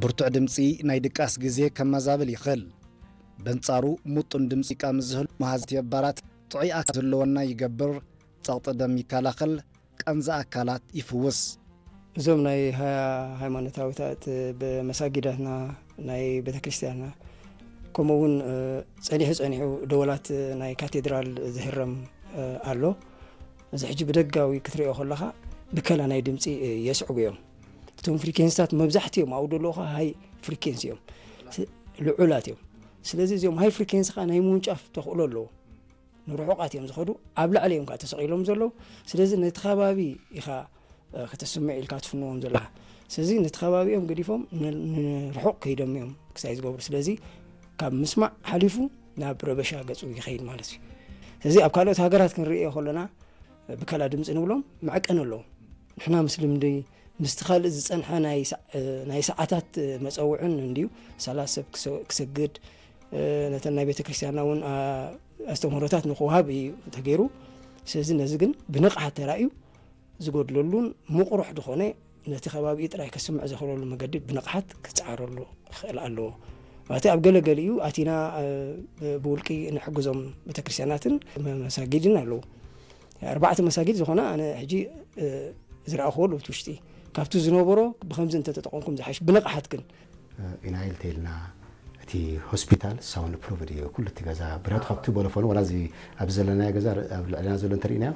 ብርቱዕ ድምጺ ናይ ድቃስ ግዜ ከመዛብል ይኽእል። በንጻሩ፣ ምጡን ድምጺ ሙዚቃ ምስ ዝህሉ መሃዝቲ ኣባላት ጥዑይ ኣካል ክህልወና ይገብር፣ ጸቕጢ ደም ይከላኸል፣ ቀንዚ ኣካላት ይፍውስ። እዞም ናይ ሃ-፣ ሃይማኖታዊታት ብመሳጊዳትና፣ ናይ ቤተክርስትያንና፣ ከምኡ እውን፣ እ፣ ጸኒሑ ጸኒሑ ደወላት ናይ ካቴድራል ዝህረም፣ እ፣ ኣሎ። እዚ ሕጂ ብደጋዊ ክትሪኦ ከለኻ ብከላ ናይ ድምጺ፣ እ፣ የስዕቡ እዮም። እቶም ፍሪኬንስታት መብዛሕትኦም ኣብኡ ዘለዉ ኸዓ ሃይ ፍሪኬንሲ እዮም። ስ-፣ ልዑላት እዮም። ስለዚ እዚኦም ሃይ ፍሪኬንሲ ኸዓ ናይ ምውንጫፍ ተኽእሎ ኣለዎ። ንርሑቓት እዮም ዝኸዱ፣ ኣብ ላዕሊ እዮም ከዓ ተሰቒሎም ዘለዉ። ስለዚ ነቲ ከባቢ ኢኻ፣ እ፣ ከተስምዕ ኢልካ ትፍንዎም ዘለኻ። ስለዚ ነቲ ከባቢኦም ገዲፎም ን-፣ ንርሑቕ ከይዶም እዮም ክሳይ ዝገብሩ። ስለዚ ካብ ምስማዕ ሓሊፉ ናብ ረበሻ ገጹ ይኸይድ ማለት እዩ። ስለዚ ኣብ ካልኦት ሃገራት ክንርእዮ ከለና ብከላ ድምፂ ንብሎም መዐቀኒ ኣለዎም። ንሕና ምስ ልምዲ፣ ምስቲ ካልእ ዝጸንሐ ናይ ሰ-፣ ናይ ሰዓታት መጸውዕን እንድዩ፣ ሳላ ሰብ ክሰ-፣ ክሰግድ፣ ነተን ናይ ቤተ ክርስቲያንና እውን፣ ኣ-፣ ኣስተምህሮታት ንኽወሃብ እዩ ተገይሩ። ስለዚ ነዚ ግን ብንቕሓት ተራእዩ ዝጎድለሉን ምቕሩሕ ዝኾነ ነቲ ከባቢኡ ጥራይ ከስምዕ ዘኽእለሉ መገዲ ብንቕሓት ክጸዓረሉ ክኽእል ኣለዎ። ማለት ኣብ ገለ ገሊኡ ኣቲና፣ እ፣ ብ-፣ ብውልቂ ንሕግዞም ቤተክርስትያናትን መ-፣ መሳጊድን ኣለዉ። ኣርባዕተ መሳጊድ ዝኾና ኣነ ሕጂ፣ እ፣ ዝረኣኽዎ ኣለዉ እቲ ውሽጢ። ካብቲ ዝነበሮ ብኸምዚ እንተተጠቐምኩም ዝሓይሽ ብንቕሓት ግን። እ፣ ኢና ኢልተ ኢልና እቲ ሆስፒታል ሳውንድ ፕሩፍ ድዩ? ኩሉ እቲ ገዛ ብረት ካብቲ ቦሎፎን ዋላ እዚ ኣብዚ ዘለናዮ ገዛ ኣብ ልዕልና ዘሎ እንተርኢናዮ፣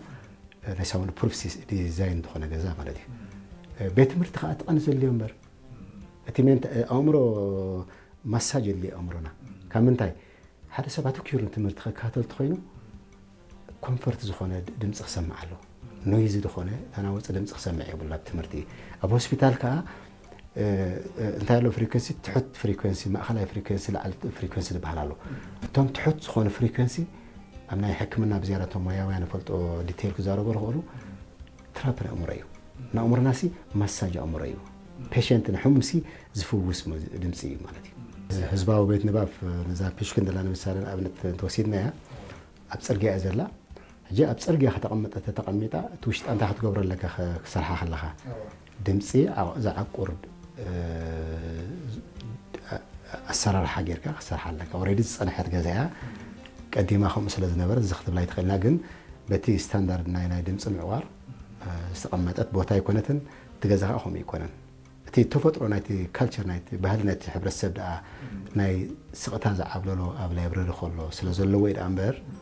እ፣ ናይ ሳውንድ ፕሩፍ ሲስ-፣ ዲዛይን ዝኾነ ገዛ ማለት እዩ። እ፣ ቤት ትምህርቲ ከዓ እቲ ቀንዲ ዘድልዮ እምበር። እቲ ሜንት-፣ እ፣ ኣእምሮ ማሳጅ የድልዮ ኣእምሮና። ካብ ምንታይ? ሓደ ሰብ ኣተኲሩ ንትምህርቲ ክከታተል እንተኾይኑ ኮንፈርት ዝኾነ ድ-፣ ድምፂ ክሰምዕ ኣለዎ። ኖይዚ ዝኾነ ተናወፂ ድምፂ ክሰምዕ የብሉ ኣብ ትምህርቲ። ኣብ ሆስፒታል ከዓ፣ እ፣ እ፣ እንታይ ኣሎ ፍሪኩንሲ፣ ትሑት ፍሪኩንሲ፣ ማእኸላይ ፍሪኩንሲ፣ ላዕሊ ፍሪኩንሲ ዝበሃል ኣሎ። እቶም ትሑት ዝኾነ ፍሪኩንሲ ኣብ ናይ ሕክምና ብዝያዳ እቶም ሞያውያን ይፈልጦ ዲቴይል ክዛረቡ ዝኽእሉ ትራፕ ንኣእምሮ እዩ። ንኣእምሮና ሲ ማሳጅ ኣእምሮ እዩ። ፔሸንት ንሕሙም ሲ ዝፍውስ ሞ-፣ ድምፂ እዩ ማለት እዩ። እዚ ህዝባዊ ቤት ንባብ ነዛ ፒሽክን ደላ ንምሳሌ ንኣብነት እንተወሲድናያ ኣብ ፅርግያ እያ ዘላ። ሕጂ ኣብ ፅርግያ ከተቐምጠ ተተቐሚጣ እቲ ውሽጣ እንታይ ክትገብሮ ኣለካ ከ-፣ ክሰርሓ ከለኻ? ድምፂ ዓ-፣ ዝዓቁር፣ እ፣ ኣሰራርሓ ጌርካ ክሰርሓ ኣለካ። ኦልሬዲ ዝፀንሐት ገዛ እያ። ቀዲማ ከምኡ ስለ ዝነበረ እዚ ክትብላ ኣይትኽእልና፣ ግን በቲ ስታንዳርድ ናይ፣ ናይ ድምፂ ምዕቋር፣ እ፣ ዝተቐመጠት ቦታ ኣይኮነትን። እቲ ገዛ ከዓ ከምኡ ኣይኮነን። እቲ ተፈጥሮ ናይቲ ካልቸር ናይቲ ባህሊ ናይቲ ሕብረተሰብ ደኣ ናይ ስቕታ ዝዓብለሎ ኣብ ላይብረሪ ከሎ ስለ ዘለዎ እዩ ደኣ እምበር፣